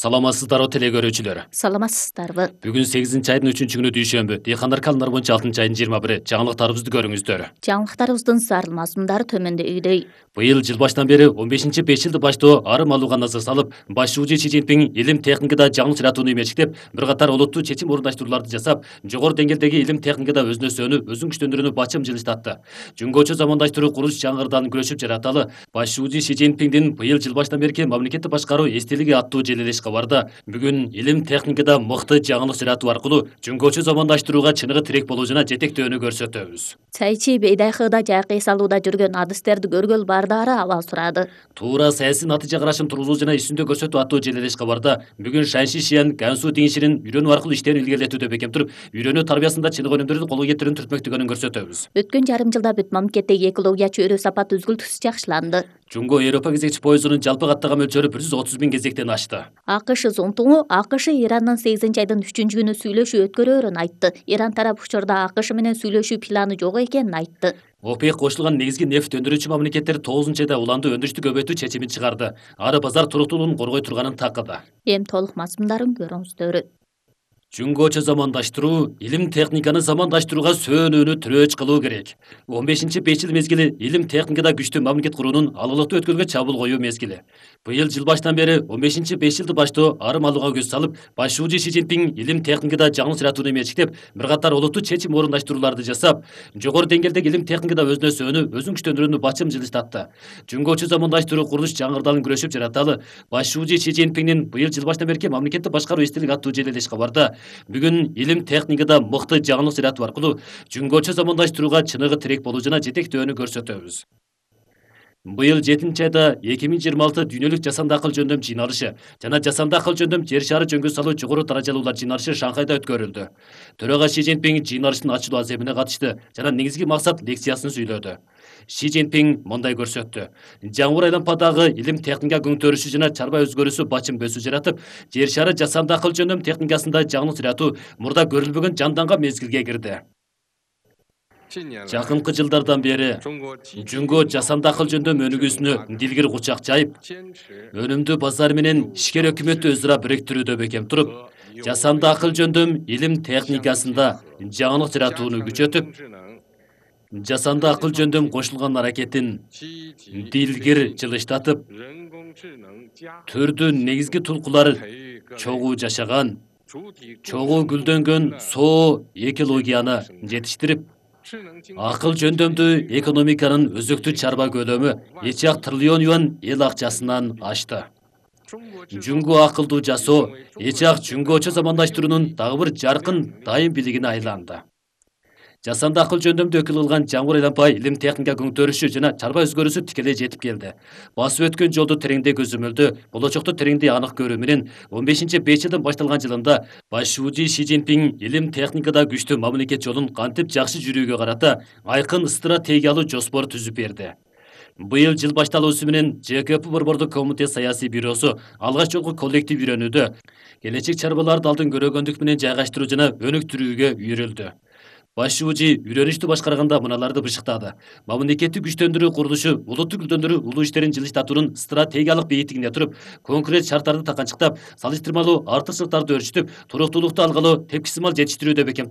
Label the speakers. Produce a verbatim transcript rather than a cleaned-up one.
Speaker 1: Саламатсыздарбы теле көрүүчүлөр.
Speaker 2: Саламатсыздарбы.
Speaker 1: Бүгүн сегизинчи айдын үчүнчү күнү дүйшөмбү. Дыйкандар календар боюнча алтынчы айдын жыйырма бири. Жаңылыктарыбызды көрүңүздөр.
Speaker 2: Жаңылыктарыбыздын зарыл мазмундары төмөндөйдүй.
Speaker 1: Быйыл жыл баштан бери он бешинчи беш жылды баштоо арым алууга назар салып, башчы Си Цзиньпин илим техникада жаңы чыратууну эмечтеп, бир катар олуттуу чечим орундаштырууларды жасап, жогору деңгээлдеги илим техникада өзүнө сөөнүп, өзүн күчтөндүрүүнү бачым жылыштатты. Жөнгөчө замандаштыруу курулуш жаңырдан күрөшүп жараталы, башчы Си Цзиньпиндин быйыл жыл баштан берки мамлекеттик башкаруу эстелиги аттуу желелеш кабарда бүгүн илим техникада мыкты жаңылык жаратуу аркылуу жөнгөчө замандаштырууга чыныгы тирек болуу жана жетектөөнү көрсөтөбүз.
Speaker 2: Сайчи бейдайкыда жайкы эс алууда жүргөн адистерди көргөл бардары абал сурады.
Speaker 1: Туура саясий натыйжа карашын тургузуу жана үстүндө көрсөтүү аттуу желелеш кабарда бүгүн Шанши Шиен Гансу Динширин үйрөнүү аркылуу иштерин илгерилетүүдө бекем туруп, үйрөнүү тарбиясында чыныгы өнүмдөрдү колго кетирүүнү түртмөктөгөнүн көрсөтөбүз.
Speaker 2: Өткөн жарым жылда бүт мамлекеттеги экология чөйрө сапаты үзгүлтүксүз жакшыланды.
Speaker 1: Жунго Европа кезекчи поездунун жалпы каттаган мөлчөрү бир жүз отуз миң кезектен ашты.
Speaker 2: АКШ зонтугу АКШ Ирандын сегизинчи айдын үчүнчү күнү сүйлөшүү өткөрөөрүн айтты. Иран тарап учурда АКШ менен сүйлөшүү планы жок экенин айтты.
Speaker 1: ОПЕК кошулган негизги нефть өндүрүүчү мамлекеттер тогузунчу айда уланды өндүрүштү көбөйтүү чечимин чыгарды. Ары базар туруктуулугун коргой турганын такыды.
Speaker 2: Эми толук мазмундарын көрүңүздөр.
Speaker 1: Жөнгөчө замандаштыруу, илим техниканы замандаштырууга сөөнүүнү тирөөч кылуу керек. он бешинчи беш жыл мезгили илим техникада күчтүү мамлекет куруунун алылыктуу өткөлгө чабуул коюу мезгили. Быйыл жыл баштан бери он бешинчи беш жылды баштоо арым алууга көз салып, башчы Си Цзиньпин илим техникада жаңы чыратууну эмечтеп, бир катар олуттуу чечим орундаштырууларды жасап, жогору деңгээлдеги илим техникада өзүнө сөөнүп, өзүн күчтөндүрүүнү бачым жылыштатты. Жөнгөчө замандаштыруу курулуш жаңырдан күрөшүп жараталы, башчы Си Цзиньпиндин быйыл жыл баштан берки мамлекеттик башкаруу эстелиги аттуу желелеш кабарда бүгүн илим техникада мыкты жаңылык жаратуу аркылуу жөнгөчө замандаштырууга чыныгы тирек болуу жана жетектөөнү көрсөтөбүз. Быйыл жетинчи айда эки миң жыйырма алты дүйнөлүк жасанды акыл жөндөм жыйналышы жана жасанды акыл жөндөм жер шары жөнгө салуу жогору даражалуулар жыйналышы Шанхайда өткөрүлдү. Төрага Си Цзиньпин жыйналыштын ачылуу аземине катышты жана негизги максат лекциясын сүйлөдү. Си Цзиньпин мындай көрсөттү. Жаңбыр айлампадагы илим техника көңтөрүшү жана чарба өзгөрүүсү бачым бөсүү жаратып, жер шары жасанды акыл жөндөм техникасында жаңылык жаратуу мурда көрүлбөгөн жанданган мезгилге кирди. Жакынкы жылдардан бери Жөнгө жасанды акыл жөндөм өнүгүүсүнө дилгир кучак жайып, өнүмдүү базар менен ишкер өкмөттү өзара бириктирүүдө бекем туруп, жасанды акыл жөндөм илим техникасында жаңылык жаратууну күчөтүп, жасанды акыл жөндөм кошулган аракетин дилгир жылыштатып, түрдүн негизги tulkulары чогуу жашаган, чогуу гүлдөнгөн соо экологияны жетиштирип, акыл жөндөмдүү экономиканын өзөктүү чарба көлөмү эч ак триллион юан эл акчасынан ашты. Жөнгө акылдуу жасоо эч ак жөнгөчө замандаштыруунун дагы бир жаркын дайым билигине айланды. Жасанды акыл жөндөмдү өкүл кылган жаңбыр айлампа илим техника көңтөрүшү жана чарба өзгөрүүсү тикелей жетип келди. Басып өткөн жолду тереңдей көзөмөлдөө, болочокту тереңдей анык көрүү менен он бешинчи беш жылдын башталган жылында башчы Си Цзиньпин илим техникада күчтүү мамлекет жолун кантип жакшы жүрүүгө карата айкын стратегиялуу жоспор түзүп берди. Быйыл жыл башталуусу менен Ж К П Борбордук комитет саясий бюросу алгач жолку коллектив үйрөнүүдө келечек чарбаларды алдын көрөгөндүк менен жайгаштыруу жана өнүктүрүүгө үйрүлдү. Башчы үйрөнүштү башкарганда мыналарды бышыктады. Мамлекеттик күчтөндүрүү курулушу улуттук гүлдөндүрүү улуу иштерин жылыштатуунун стратегиялык бейитигине туруп, конкрет шарттарды таканчыктап, салыштырмалуу артыкчылыктарды өрчүтүп, туруктуулукту алгалы тепкисимал жетиштирүүдө бекем туруп,